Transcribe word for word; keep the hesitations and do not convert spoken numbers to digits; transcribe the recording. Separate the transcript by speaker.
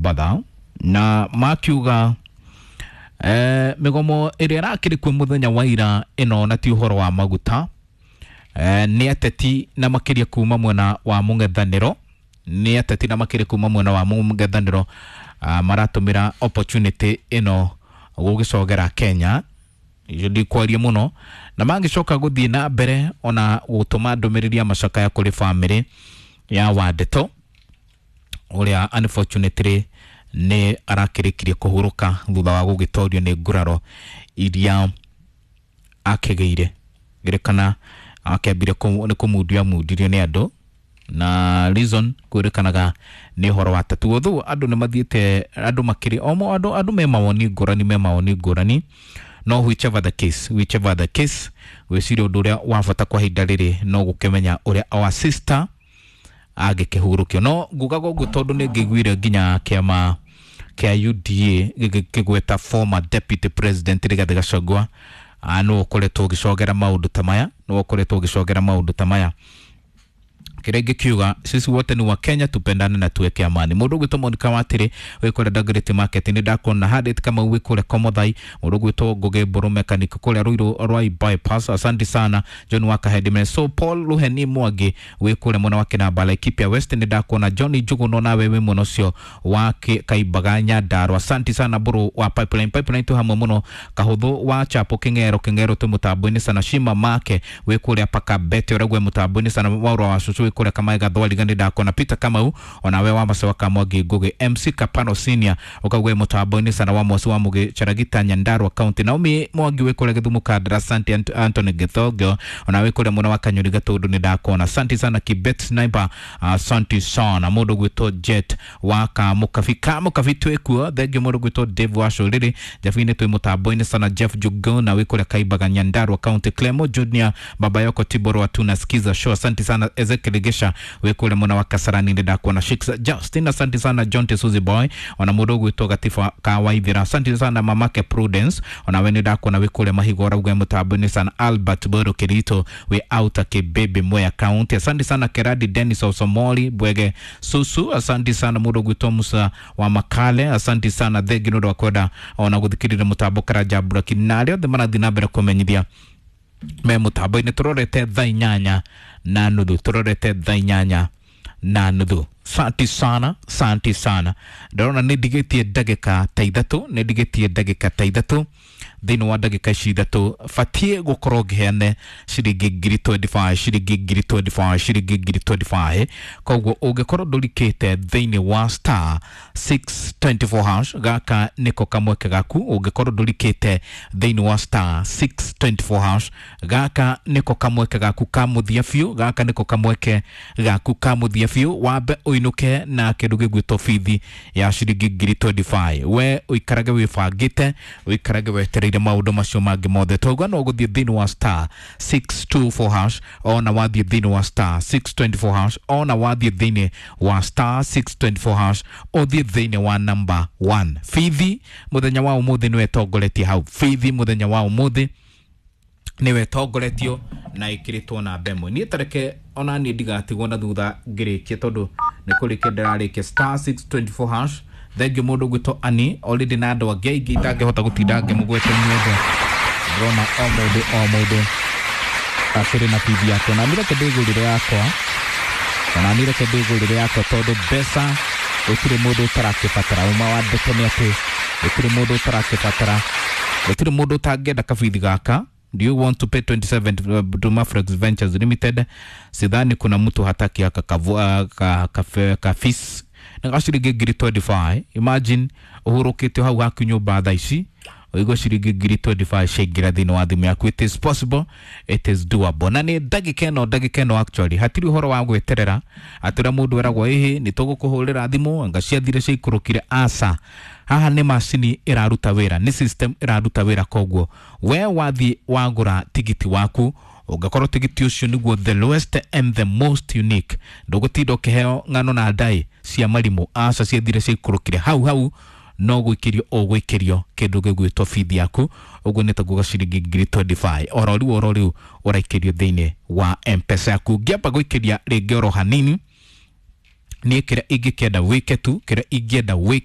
Speaker 1: Mbatha na makiuga eh, migomo ĩrĩa ĩrakĩrĩ kuo mũthenya wa ira ĩno na ti ũhoro wa maguta eh, nĩ ateti na makĩria kuma mwena wa mũng'ethanĩro nĩ ateti na makĩria kuma mwena wa mũng'ethanĩro ah, maratũmĩra opportunity ĩno gũgĩcogera Kenya icio ndikwaria mũno na mangĩcoka gũthiĩ na mbere ona gũtũma ndũmĩrĩri ya macakaya kũrĩ bamĩrĩ ya Wandeto ũrĩa unfortunately nĩ arakĩrĩkirie kũhurũka thutha wa gũgĩtorio nĩ nguraro iria akĩgĩire ngĩrĩkana akĩambire nĩ kũmundio amundirio nĩ andũ na reason kwĩrĩkanaga nĩ ũhoro wa tatu although andũ nĩ mathiĩte andũ makĩrĩ omo andũ andũ me mawoni ngũrani me mawoni ngũrani no whichever the case whichever the case gwĩciria ũndũ ũrĩa wa bata kwa ihinda rĩrĩ no gũkĩmenya ũrĩa our sister angĩkĩhurũkio no ngugaga ũguo tondũ nĩ ngĩiguire nginya kĩama kĩa U D A gĩkĩgweta former deputy president Rigathĩ Gachagua nũ ũkoretwo ũgĩcogera maũndũ ta maya nũ ũkoretwo ũgĩcogera maũndũ ta maya. Kĩrĩa ingĩkiuga, sisi wote ni wa Kenya, tupendane na tuweke amani. Mũndũ ũgwĩtwo Monica Watĩrĩ wĩ kũrĩa Dagoretti Market, nĩ ndakuona. Harriet Kamau wĩ kũrĩa Komothai. Mũndũ ũgwĩtwo Ngũgĩ Mbũrũ mechanic kũrĩa Ruiru Rwai bypass, asante sana. John Wakahedime so Paul Luheni Mwangi wĩ kũrĩa mwena wa Kĩnamba, Laikipia West, nĩ ndakuona. John Njuguno nawe wĩ mwena ũcio wa Kaimbaga Nyandarua, asante sana. Mbũrũ wa Pipeline Pipeline twĩ hamwe mũno. Kahũthũ wa Chapo Kĩng'ero Kĩng'ero twĩ mũtambo-inĩ sana. Shima Make wĩ kũrĩa Pakabete ũragwe mũtambo-inĩ sana. Waũra wa Cucu wĩ kũrĩa Kamae Gathwariga, nĩ ndakuona. Peter Kamau onawe wa Macewa Kamwangi Ngugi M C Kapano Senior ũkaugwe mũtambo-inĩ sana. Wa Mosi wa Mũgĩ Charagita Nyandarua County. Naomi Mwangi wĩ kũrĩa Gĩthumo Kandara, asante. Ant Anthony Gĩthongio onawe kũrĩa mwena wa Kanyuri Gatũndũ, nĩ ndakuona, asante sana. Kibet Sniper, asante sana. Mũndũ gwĩtwo Jet wa Kamũkabi Kamũkabi twĩ kuo, thengio. Mũndũ gwĩtwo Dave wa Cũrĩrĩ Jabi-inĩ twĩ mũtambo-inĩ sana. Jeff Jugona wĩ kũrĩa Kaimbaga Nyandarua County. Clemo Junior Baba Yoko Tiboro wa tunasikiza show, asante sana. Ezekiel Gesha wĩ kũrĩa mwena wa Kasarani, nĩ ndakuona. Shix Justin, asante sana. John Tesuzi Boy ona mũndũ ũgwĩtwo Gatiba Kawaithira, asante sana. Mamake Prudence ona we nĩ ndakuona wĩ kũrĩa Mahigo ũrauga mũtambo-inĩ sana. Albert Boro Kirito wĩ Outer Kibebe Mwea County, asante sana. Keradi Dennis Osomoli Bwege Susu, asante sana. Mũndũ ũgwĩtwo Musa wa Makale, asante sana. Thengi nĩ ũndũ wa kwenda ona gũthikĩrĩria mũtambo. Karanja Braki na arĩa othe marathiĩ na mbere kũmenyithia me mũtambo-inĩ. Tũrorete thaa inyanya na nuthu, tũrorete thaa inyanya na nuthu. Santi sana, santi sana. Ndĩrona nĩ ndigĩtie ndagĩka ta ithatũ, nĩ ndigĩtie ndagĩka ta ithatũ. Thĩinĩ wa ndagĩka ici ithatũ batiĩ gũkorwo ngĩheane ciringi ngiri mĩrongo ĩrĩ na ithano, ciringi ngiri mĩrongo ĩrĩ na ithano, ciringi ngiri mĩrongo ĩrĩ na ithano. Koguo ũngĩkorwo ndũrikĩte thĩinĩ wa star six two four hash, gaka nĩko kamweke gaku. Ũngĩkorwo ndũrikĩte thĩinĩ wa star six two four hash, gaka nĩko kamweke gaku ka mũthia biũ, gaka nĩko kamweke gaku ka mũthia biũ. Wambe ũinũke na kĩndũ gĩgwĩtwo bithi ya ciringi ngiri mĩrongo ĩrĩ na ithano. We ũikarage wĩbangĩte, ũikarage wetereire maũndũ macio mangĩ mothe. Twauga no gũthiĩ thĩinĩ wa star six two four hash, ona wathiĩ thĩinĩ wa star six two four hash, ona wathiĩ thĩinĩ wa star six two four hash, ũthiĩ thĩinĩ wa number one. Bithi mũthenya wa ũmũthĩ nĩwe ĩtongoretie hau. Bithi mũthenya wa ũmũthĩ nĩwe ĩtongoretio na ĩkĩrĩtwo namba ĩmwe. Niĩ tareke ona niĩ ndigatigwo na thutha ngĩrĩkie tondũ nĩ kũrĩkia ndĩrarĩkia star six two four hash. Thengio mũndũ gwĩtwo ani already na andũ angĩ aingĩ itangĩhota gũtinda ngĩmũgwete inyuothe. Ndĩrona o mũndũ o mũndũ akĩrĩ na bithi yake na niĩ reke ndĩgũrĩre yakwa, ona niĩ reke ndĩgũrĩre yakwa tondũ mbeca gũtirĩ mũndũ ũtarakĩbatara. Uma wa ndeto nĩ atĩ gũtirĩ mũndũ ũtarakĩbatara, gũtirĩ mũndũ ũtangĩenda kabithi gaka. Do you want to pay twenty-seven uh, to Mafrex Ventures Limited? Sidhani kuna mtu hataki haka kavu, uh, ka, ka, ka fees na ciringi ngiri mĩrongo ĩrĩ na ithano. Imagine ũhurũkĩte hau haku nyũmba thaa ici ũigua ciringi ngiri mĩrongo ĩrĩ na ithano ciaingĩra thĩinĩ wa thimũ yaku. It is possible, it is doable. Na nĩ ndagĩka ĩno, ndagĩka ĩno actually hatirĩ ũhoro wa gweterera atĩ ũrĩa mũndũ eragwo ĩhĩ nĩ tũgũkũhũrĩra thimũ anga ciathire ciaikũrũkire. Aca, haha nĩ macini ĩraruta wĩra, nĩ system ĩraruta wĩra. Koguo we wathiĩ wagũra tigiti waku, ũngĩkorwo tigiti ũcio nĩguo the lowest and the most unique, ndũgũtinda ũkĩheo ng'ano na ndai cia marimũ. Aca, ciathire ciaikũrũkire hau hau no gwĩkĩrio ũgwĩkĩrio kĩndũ gĩgwĩtwo bithi yaku. Ũguo nĩ takuga ciringi ngiri mĩrongo ĩrĩ na ithano oro rĩu oro rĩu ũraikĩrio thĩinĩ wa Mpesa yaku. Ngĩamba gwĩkĩria rĩngĩ oro hanini niĩ kĩrĩa ingĩkĩenda wĩke tu, kĩrĩa ingĩenda wĩke.